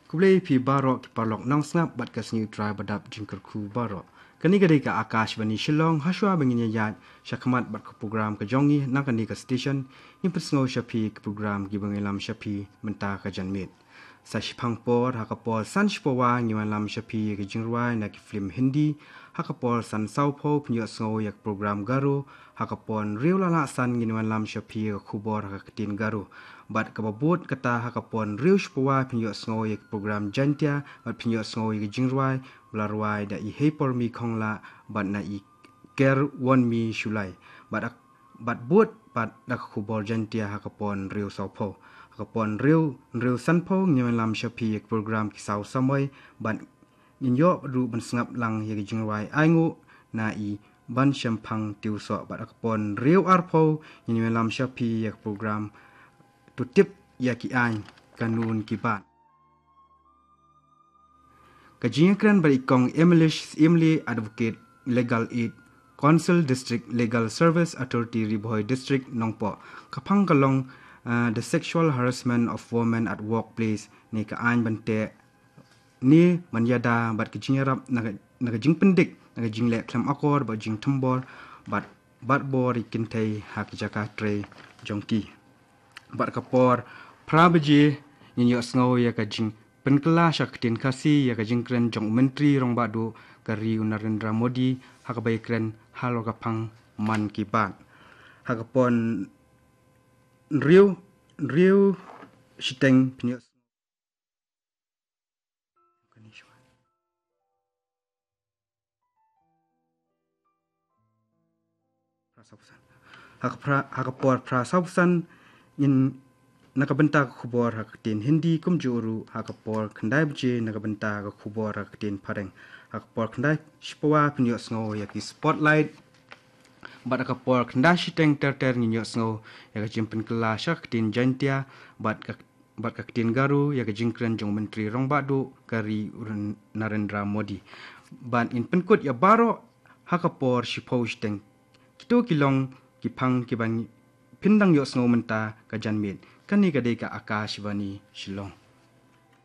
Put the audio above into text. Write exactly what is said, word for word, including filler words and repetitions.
Khublei phi baroh ki paralok nongsngap bad ka sngi U Trai badap jingkyrkhu baroh. Kane ka dei ka Akashvani Shillong, hashwa ba ngin ïa ïaid shakhmat bad ka program ka jong ngi na kane ka station, ngin pynsngew sha phi ki program kiba ngi lam sha phi mynta ka janmiet. Sa shiphang por, ha ka por san shiphew wei ngin wan lam sha phi ka jingrwai na ki film Hindi, ha ka por san sawphew phin ïohsngew ïa ka program Garo, ha ka por hynriew la lah san ngin wan lam sha phi ka khubor ha ka ktien Garo. Bad kaba bud kata, ha ka por hynriew shiphew wei phin ïohsngew ïa ka program Jaintia, bad phin ïohsngew ïa ka jingrwai ba la rwai da i Heipormi Khongla bad na i Kerwonmi Shullai. Bad ak-, bad bud pat da ka khubor Jaintia ha ka por hynriew sawphew. Ha ka por hynriew, hynriew sanphew ngin wan lam sha phi ïa ka program Ki Saw Samoi, bad ngin ïoh ruh ban sngap lang ïa ka jingrwai Ainguh na i Banshemphang Tiewsoh, bad ha ka por hynriew arphew ngin wan lam sha phi ïa ka program To Tip ïa ki Aiñ, Kanun ki Bat. Ka jingïakren bad i Kong Emilish Syiem Lee, Advocate, Legal Aid Counsel, District Legal Service Authority, Ri Bhoi District, Nongpoh. Ka phang ka long, ah, The Sexual Harassment of Women at Workplace, ne ka aiñ ban teh ne ban ïada bad ka jingïarap na ka, na ka jingpyndik na ka jingleh khlem akor bad jingthymbor bad, bad bor ïa ki kynthei ha ki jaka trei jong ki. Bad ka por phra baje ngin ïohsngew ïa ka jingpynkylla sha ka ktien Khasi ïa ka jingkren jong u Myntri Rangbah Duh ka ri, u Narendra Modi, ha kaba ïakren halor ka phang Mann Ki Baat. Ha ka por hynriew, hynriew shiteng phin ïoh Ha ka phra, ha ka por phra sawphew san ngin na ka bynta ka khubor ha ka ktien Hindi, kumjuh ruh ha ka por khyndai baje na ka bynta ka khubor ha ka ktien Phareng. Ha ka por khyndai shiphew wei phin ïohsngew ïa ki Spotlight. Bad ha ka por khyndai shiteng ter ter ngin ïohsngew ïa ka jingpynkylla sha ka ktien Jaintia bad ka, bad ka ktien Garo ïa ka jingkren jong u Myntri Rangbah Duh ka ri, u Narendra Modi. Bad ngin pynkut ïa baroh ha ka por shiphew shiteng. Kito ki long ki phang kiba phin dang ïohsngew mynta ka janmiet. Kane ka dei ka Akashvani Shillong.